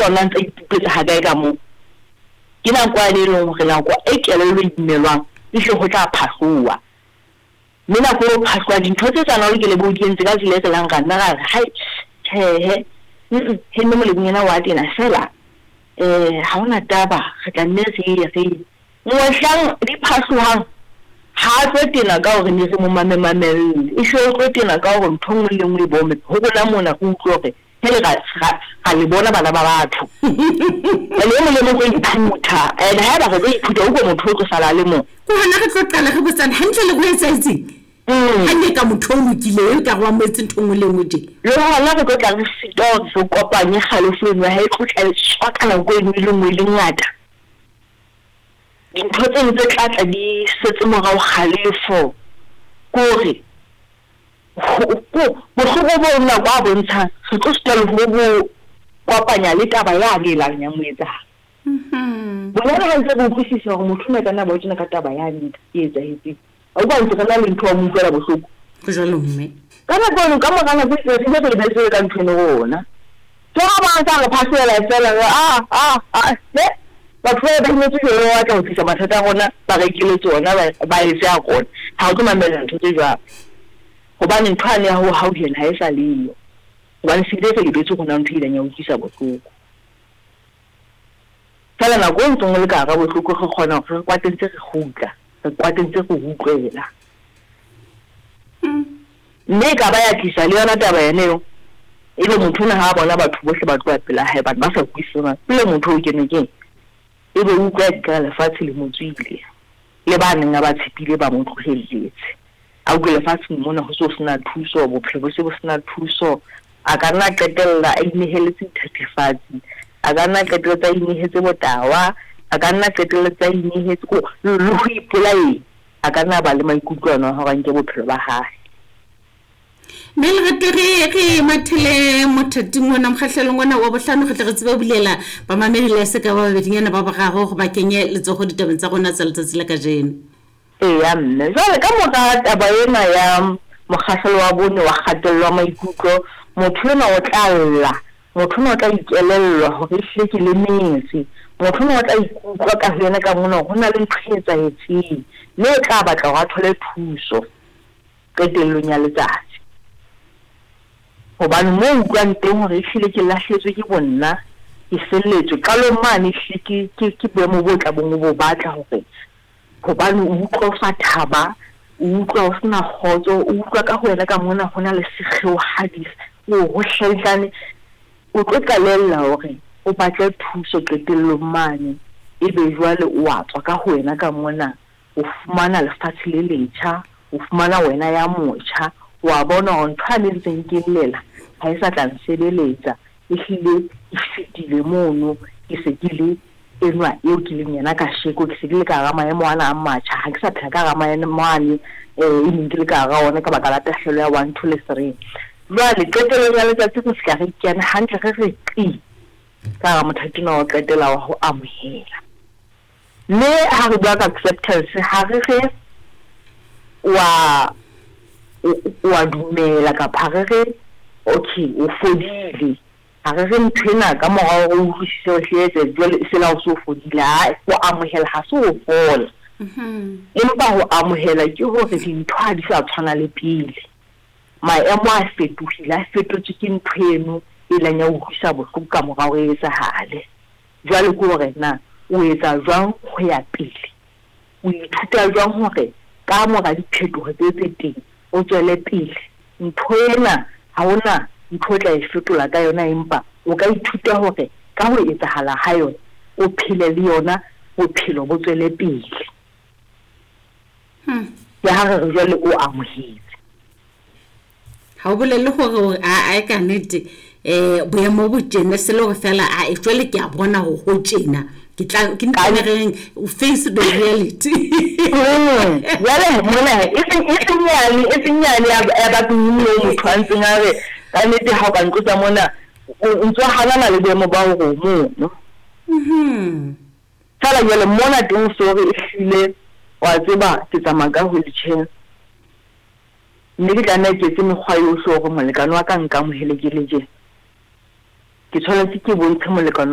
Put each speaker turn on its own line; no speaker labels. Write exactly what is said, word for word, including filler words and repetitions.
Tsona ntse ipupetsa ha kae ka moo. Ke nako yane e leng hore nako e kelello e imelwang ehle ho tla phahloha. Mme nako eo phahloha dintho tse tsa o ke lebo di entse ka tsela e tselang ra nna ra re hai tjhehe mm he mme molebong ena wa tena fela eh ha hona taba re tla nne re ye re ye. Mohlang di phahlohang ha a tlo tena ka hore ne re mo mamemamelle, e hle o tlo tena ka hore ntho e nngwe le nngwe e bome ho rona mona re utlwe hore hele ra ra ra le bona bana ba batho. Ene e mong le mong o tlo iphutha and haeba re tlo iphutha utlwe motho o tlo sala a le mong.
Ke hona re tlo qala re botsana hantle le ho etsahetseng.
Mm.
Ha ne ka motho o lokileng e ka re wa mo etse ntho e nngwe le e nngwe tje.
Le hona re tlo tla re sitwa hore re kopanye kgalefo eno ya hae e tlo tla e tswa ka nako eno e le nngwe e le ngata. Dintho tse ding tse tla tla di setse morao kgalefo ke hore bohloko bo nako a bontshang re tlo sitwa le ho bo kopanya le taba yane e lang ya mo etsahala.
Mhm.
Bonyane ha ntse re utlwisisa hore motho ona ka nna ba o tjena ka taba yane e etsahetseng. A utlwa ntse re na le ntho ya mo utlwela bohloko.
Ho jwalo mme.
Ka nako eno ka mora nako e itseng re ile re lebetse ka ntho eno rona. Ke ha ba ntsa re phahlohela feela re ah ah ah he batho ba ba imetswe jwalo ba batla ho tlisa mathata a rona ba rekele tsona ba ba etse a rona. Ha o tlo mamella ntho tse jwalo. Hobane ntho yane ya ho hauhela ha e sa leyo. Hobane se bile re lebetse hore na ntho e ileng ya utlwisa bohloko. Feela nako e ntseng o le ka hara bohloko re kgona hore re kwate ntse re kgutla, re kwate ntse re utlwela.
Mm.
Mme e ka ba ya tlisa le yona taba yane eo. Ebe motho ona ha a bona batho bohle ba tloha pela hae batho ba sa utlwisiseng pele motho o kenwe keng. Ebe o utlwa ekare lefatshe le mo tswile. Le ba neng a ba tshepile ba mo tlohelletse. A utlwe lefatsheng mona ho se ho sena thuso, bophelo bo se bo sena thuso. A ka nna qetella a ineheletse dithethefatsi, a ka nna qetelletse a inehetse botawa, a ka nna qetelletse a inehetse ko le ho ipolayeng. A ka nna ba le maikutlo ano a hore a nke bophelo ba hae.
Mme Lerato re re mathele mothating ona mokgahlelong ona wa bohlano re tle re tsebe ho bulela bamamedi le se ka ba babedinyana ba boraro hore ba kenye letsoho ditabeng tsa rona tsa letsatsi la kajeno.
Eya mme, jwale ka mora taba ena ya mokgahlelo wa bone wa kgatello ya maikutlo, motho enwa o tla lla, motho enwa o tla ikelellwa hore ehlile ke lemetse. Motho enwa o tla ikutlwa ka ho yena ka mona hore ho na le ntho e etsahetseng, mme o tla batla hore a thole thuso qetellong ya letsatsi. Hobane moo o utlwang teng hore ehlile ke lahlehetswe ke bonna, ke felletswe. Qalong mane ehlile ke ke ke boemo bo tlabeng o bo batla hore hobane o utlwa o sa thaba, o utlwa o sena kgotso, o utlwa ka ho wena ka mona ho na le sekgeohadi o ho hlaihlane. O tlo qalella hore o batle thuso qetellong mane. Ebe jwale o a tswa ka ho wena ka mona, o fumana lefatshe le letjha, o fumana wena ya motjha. Wa bona hore ntho yane e ntseng ke llela ha e sa tla nsebeletsa, ehlile e fetile mono, ke se ke le enwa eo ke leng yena kasheko, ke se ke le ka hara maemo ana a matjha, ha ke sa phela ka hara maemo ane eh e neng ke le ka hara ona ka baka la tahlehelo ya one, two le three. Jwale qetellong ya letsatsi re fihla re kena hantle re re qi ka hara mothati ona wa ho qetela wa ho amohela. Mme ha re bua ka acceptance ha re re wa o a dumela kapa ha re re okay o fodile. Ha re re ntho ena ka mora hore o utlwisise hore hle etse jwale e se la o so fodile. Ha ho amohela ha se ho fola.
Mhm.
Empa ho amohela ke hore dintho ha di sa tshwana le pele. Maemo a fetohile, a fetotswe ke ntho eno e ileng ya utlwisa bohloko ka mora hore e etsahale. Jwale ke hore na o etsa jwang ho ya pele. O ithuta jwang hore ka mora diphetoho tse tse teng o tswele pele. Ntho ena ha hona ntho o tla e fetola ka yona, empa o ka ithuta hore ka ho etsahala ha yona o phele le yona, bophelo bo tswele pele.
Hmm.
Ke ha re re jwale o amohetse.
Ha o bolelle hore a a ka nnete eh boemo bo tjena se le hore fela a e jwale ke a bona hore ho tjena ke tla ke
Ka
ntho e reng o face the reality.
Mm, jwale mona e seng e seng yane e seng yane ya ya batho moo motho a ntseng a re ka nnete ha o ka ntlosa mona o o ntso hanana le boemo ba hore o mono.
Mhm.
Feela jwale mona teng o so re ehlile wa tseba ke tsamaya ka wheelchair. Mme ke tlameha ke etse mekgwa yohle hore molekane wa ka a nkamohele ke le tjena. Ke tshwanetse ke bontshe molekane